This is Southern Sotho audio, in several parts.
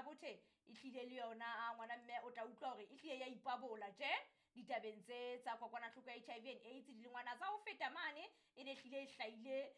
Botha-Bothe e hlile le yona a ngwana mme o tla utlwa hore e hlile ya ipabola tje ditabeng tse tsa kokwanahloko ya HIV and AIDS. Dilengwana tsa ho feta mane e ne hlile e hlahile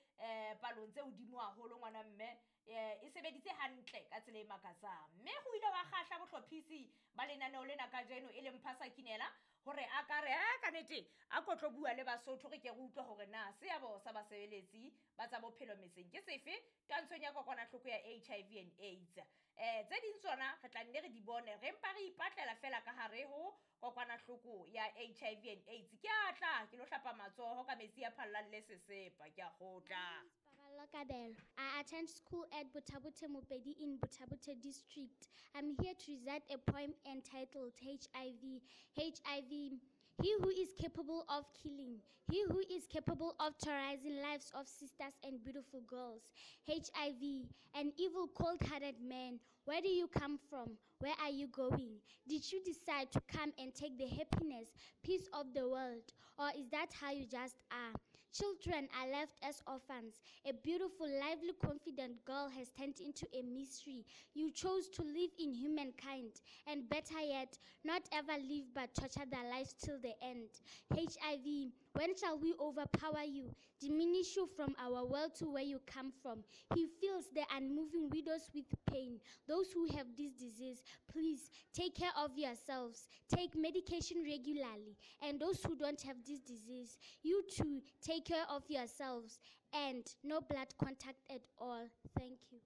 palong tse hodimo haholo ngwana mme, e sebeditse hantle ka tsela e makatsang. Mme ho ile hwa kgahla bohlophisi ba lenaneo lena kajeno e leng Phasa Kinela hore a ka re a ka nete a ko tlo bua le Basotho, re ke re utlwe hore na seabo sa basebeletsi ba tsa bophelo metseng ke sefe twantshong ya kokwanahloko ya HIV and AIDS. Tse ding tsona re tla nne re di bone, re mpa re ipatlela fela ka hare ho kokwanahloko ya HIV and AIDS. Ke a tla ke lo hlapa matsoho ka metsi a phallang le sesepa, ke a kgotla. Paballo Kabelo. I attend school at Botha-Bothe Mopedi in Botha-Bothe district. I'm here to recite a poem entitled HIV. HIV, he who is capable of killing, he who is capable of terrorizing lives of sisters and beautiful girls. HIV, an evil, cold-hearted man. Where do you come from? Where are you going? Did you decide to come and take the happiness, peace of the world? Or is that how you just are? Children are left as orphans. A beautiful, lively, confident girl has turned into a mystery. You chose to live in humankind, and better yet, not ever live but torture their lives till the end. HIV, when shall we overpower you, diminish you from our world to where you come from? He fills the unmoving widows with pain. Those who have this disease, please take care of yourselves. Take medication regularly. And those who don't have this disease, you too, take care of yourselves. And no blood contact at all. Thank you.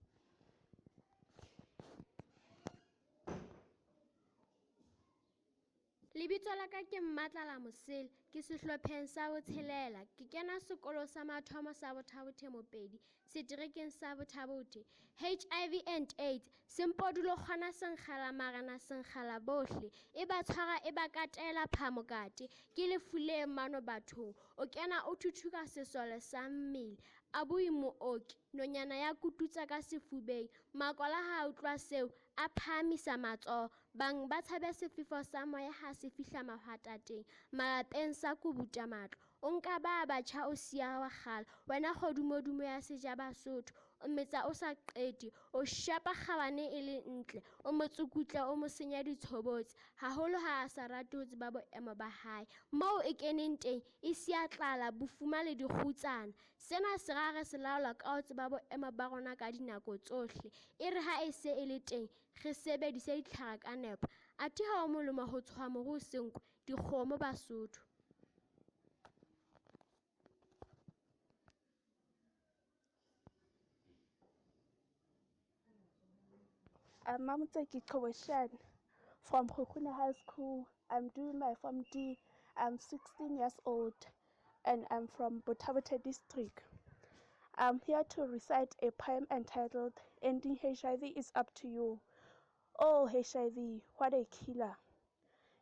Lebitso la ka ke Mmatlala Mosele, ke sehlopheng sa botshelela, ke kena sekolo sa mathomo sa Botha-Bothe Mopedi, seterekeng sa Botha-Bothe. HIV and AIDS, sempodulo kgona senkgela marena senkgela bohle, e ba tshwara e ba katela phamokate, ke lefu le mano bathong, o kena o thuthuka sesole sa mmele, a bue mooki, nonyana ya kututsa ka sefubeng, makola ha a utlwa seo, a phahamisa matsoho, bang ba tshabe sefefo sa moya ha se fihla mahwatateng, malapeng sa kubuta matlo, o nka ba batjha o siya wa kgale, wena kgodumodumo ya sejaba Sotho, o metsa o sa qete, o shapa kgabane e le ntle, o mo tsukutla o mo senya ditshobotsi, haholo ha a sa rate ho tseba boemo ba hae. Moo e keneng teng e siya tlala, bofuma le dikgutsana. Sena se ra re se laola ka ho tseba boemo ba rona ka dinako tsohle. E re ha e se e le teng, re sebedise ditlhare ka nepo. Athe ha ho molemo ho tshoha moru o senkwe, dikgomo Basotho. I'm Mamutseki Koweshan from Kgokgone High School. I'm doing my Form D. I'm 16 years old and I'm from Botha-Bothe district. I'm here to recite a poem entitled Ending HIV is Up to You. Oh, HIV, what a killer.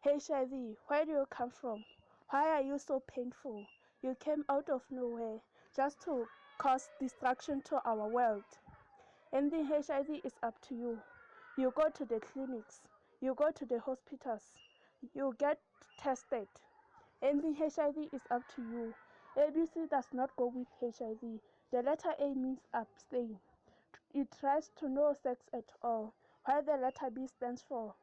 HIV, where do you come from? Why are you so painful? You came out of nowhere just to cause destruction to our world. Ending HIV is up to you. You go to the clinics, you go to the hospitals, you get tested. Ending HIV is up to you. ABC does not go with HIV. The letter A means abstain. It tries to no sex at all, while the letter B stands for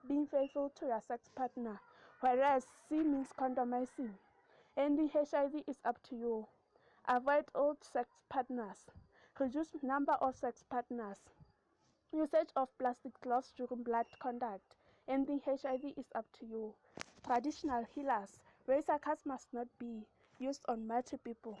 being faithful to your sex partner, whereas C means condomizing. Ending HIV is up to you. Avoid old sex partners. Reduce number of sex partners. Usage of plastic gloves during blood contact. Ending HIV is up to you. Traditional healers. Razor cuts must not be used on multiple people.